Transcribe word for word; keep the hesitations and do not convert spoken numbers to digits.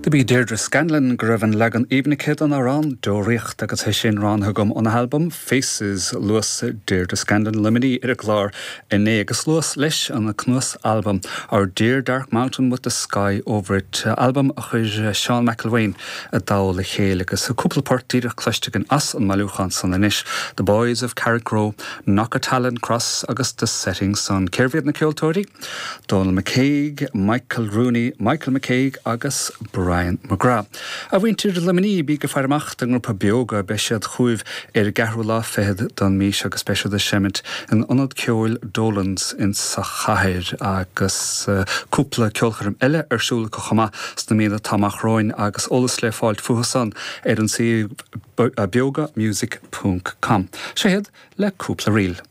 Do b'í Deirdre Scanlon go raibh an leagan aoibhinn aici den amhrán Deoraíocht agus é sin roghnaithe agam óna halbam Faces luas Deirdre Scanlon Luimnigh ar an gclár inné agus luas leis an cnuasalbam Our Dear Dark Mountain with the Sky Over It albam a chuir Seán McElwain i dtoll a chéile agus cúpla port díreach cloiste againn as an mbailiúchán san anois The Boys of Carrickroe, Knockatallon Cross agus The Setting Sun. Cérbh iad na ceoltóirí? Donald McCaig, Michael Rooney, Michael McCaig agus Brian McGrath. A mhuintir Luimnigh bígí ag faire amach don ngrúpa Beoga beidh siad chugaibh ar an gceathrú lá fichead den mhí seo agus beidh siad ag seimint in ionad ceoil Dolans in sa chathair agus uh, cúpla ceolchoirm eile ar siúl acu chomh maith sna míonna atá amach romhainn agus eolas le fáil fúthu san ar an suíomh beogamusic.com. Seo iad le cúpla ríl.